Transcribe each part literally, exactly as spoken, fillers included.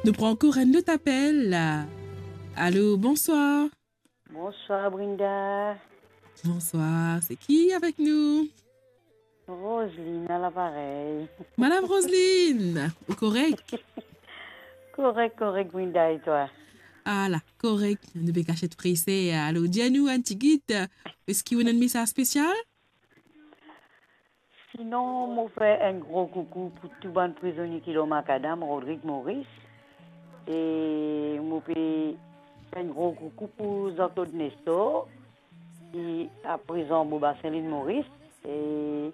Nou pran ankor enn lot apel. Alo, bonswar. Bonswar, Brinda. Bonswar, se ki avek nou? Roseline, a laparey. Madam Roseline, ou korek? Korek, korek, Brinda, e twa? Ala, korek. Nou pe kaset prese. Alor, dir nou enn tigit, eski ou ena enn mesaz spesial? Sinon, mo fer enn gro koukou pou tou bann prizonie ki lor makadam, Rodrig, Moris. E mo pe fer enn gro koukou pou Jean-Claude Nestor, ki aprizan Bobasin, Lil Moris. E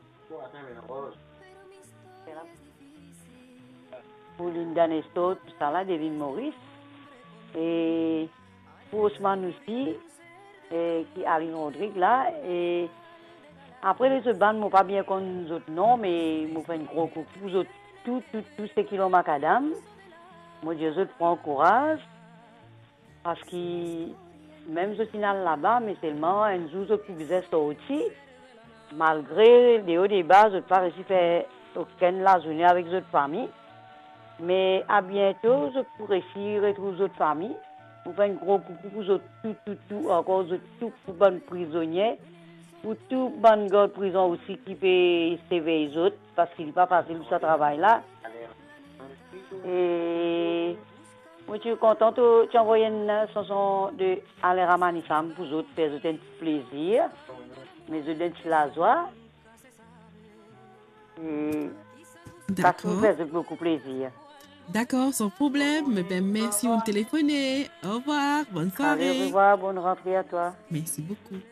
pou Linda Nestor, tousala, de Lil Moris. E pou Osman osi, e ki Aline Rodrig la. E apre lezot bann, mo pa bien konn zot non, me mo fer enn gro koukou pou zot tou, tou, tou seki lor makadam. Mo dir zot pran kouraz, parski mem zot inn al laba, me selman enn zour zot pou bizin sorti. Malgre deor deba, zot pa resi fer okenn lazourne avek zot fami. Me a biento, zot pou resi retrouv zot fami. Mo fer enn gro koukou pou zot tou, tou, tou, ankor zot tou, pou bann prizonie, pou tou bann gard prizon osi ki pe sirvey zot, parski li pa fasil pou sa travay la. E mo ti kontan to ti anvoy enn sanson de Alain Ramanisamy pou zot, fer zot enn ti plezir, met zot dan enn ti lazwa. E sa pou fer zot boukou plezir. Dakor, san problem. Eben, mersi, ou telefone. Orevwar, bonn sware. Ale, orevwar, bonn rantre a twa. Mersi boukou.